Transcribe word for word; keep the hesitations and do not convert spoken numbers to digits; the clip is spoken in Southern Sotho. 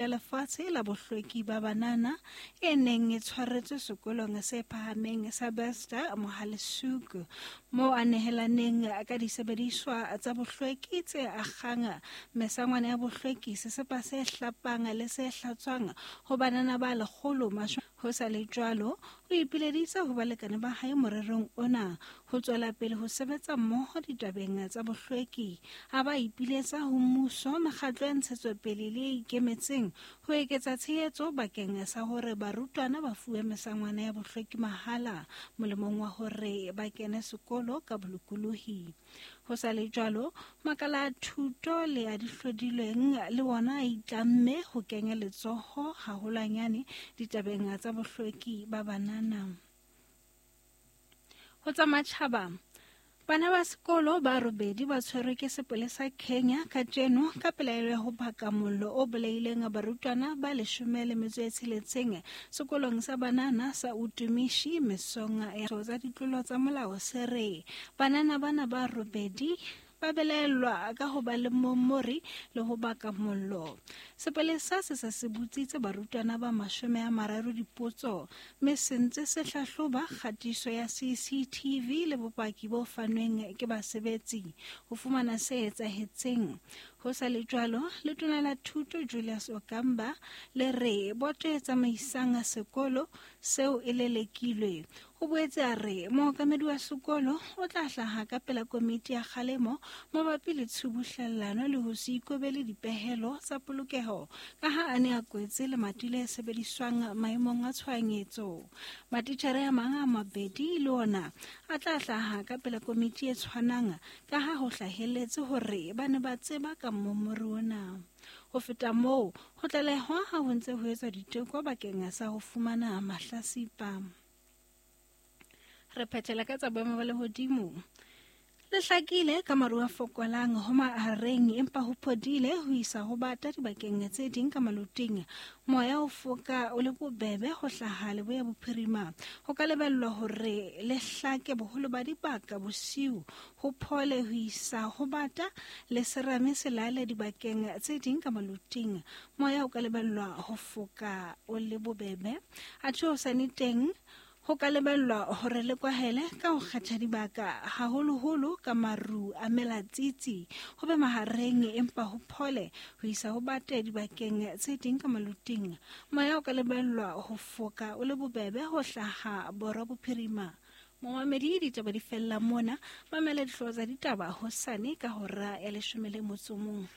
Ya Lefatshe la Bohlweki ba Banana e neng e tshwaretswe sekolong se phahameng sa Bester Mohale'shoek, moo a nehelaneng ka disebediswa tsa bohlweki tse akgang mesangwana ya bohlweki, sesepa se hlapang le se hlatswang ho banana ba lekgolo mashome. Ho sa le jwalo, o ipileditse ho balekane ba hae morerong ona ho tswela pele ho sebetsa mmoho ditabeng tsa bohlweki. A ba ipiletsa ho mmuso, mekgatlo ya ntshetsopele le e ikemetseng ho eketsa tshehetso bakeng sa hore barutwana ba fuwe mesangwana ya bohlweki mahala molemong wa hore ba kene sekolo ka bolokolohi. Ho sa le jwalo, makala a thuto le a dihlodilweng le wona a itlamme ho kenya letsoho haholwanyane ditabeng tsa bohlweki ba banana. Ho tsa matjhaba, bana ba sekolo ba robedi ba tshwerwe ke sepolesa Kenya kajeno ka pelaelo ya ho baka mollo o bolaileng barutwana ba leshome le metso e tsheletseng sekolong sa banana sa Utumishi mesong ya tsa ditlolo tsa molao se re banana bana ba robedi ba belaellwa ka ho ba le momori le ho baka mollo. Sepolesa se se se botsitse barutwana ba mashome a mararo dipotso, mme se ntse se hlahloba kgatiso ya C C T V le bopaki bo fanweng ke basebetsi ho fumana se etsahetseng. Ho sa le jwalo, letona la thuto Julius Ogamba le re boto e tsamaisang sekolo seo e lelekilwe. O boetse a re mookamedi wa sekolo o tla hlaha ka pela komiti ya kgalemo mabapi le tshubuhlellano le ho se ikobele dipehelo tsa polokeho ka ha a ne a kwetse lemati le sebediswang maemong a tshohanyetso. Matitjhere a mang a mabedi le ona a tla hlaha ka pela komiti e tshwanang ka ha ho hlahelletse hore ba ne ba tseba ka momori ona. Ho feta moo, ho tlalehwa ha ho ntse ho etswa diteko bakeng sa ho fumana mahlasipa. Re phethela ka tsa boemo ba lehodimo. Le hlakile ka maru a fokolang ho mahareng empa ho phodile ho isa ho bata dibakeng tse ding ka maloting. Moya o foka o le bobebe ho hlaha leboya bophirima. Ho ka lebellwa hore le hlake boholo ba dibaka bosiu, ho phole ho isa ho bata le serame se lale dibakeng tse ding ka maloting. Moya o ka lebellwa ho foka o le bobebe. Athe hosane teng ho ka lebellwa hore le kwahele ka ho kgetha dibaka haholoholo ka maru a melatsitsi, ho be mahareng empa ho phole ho isa ho bate dibakeng tse ding ka maloting. Moya o ka lebellwa ho foka o le bobebe ho hlaha borwa bophirima. Momamedi, ditaba di fella mona. Mamela dihlooho tsa ditaba hosane ka hora ya leshome le motso o mong.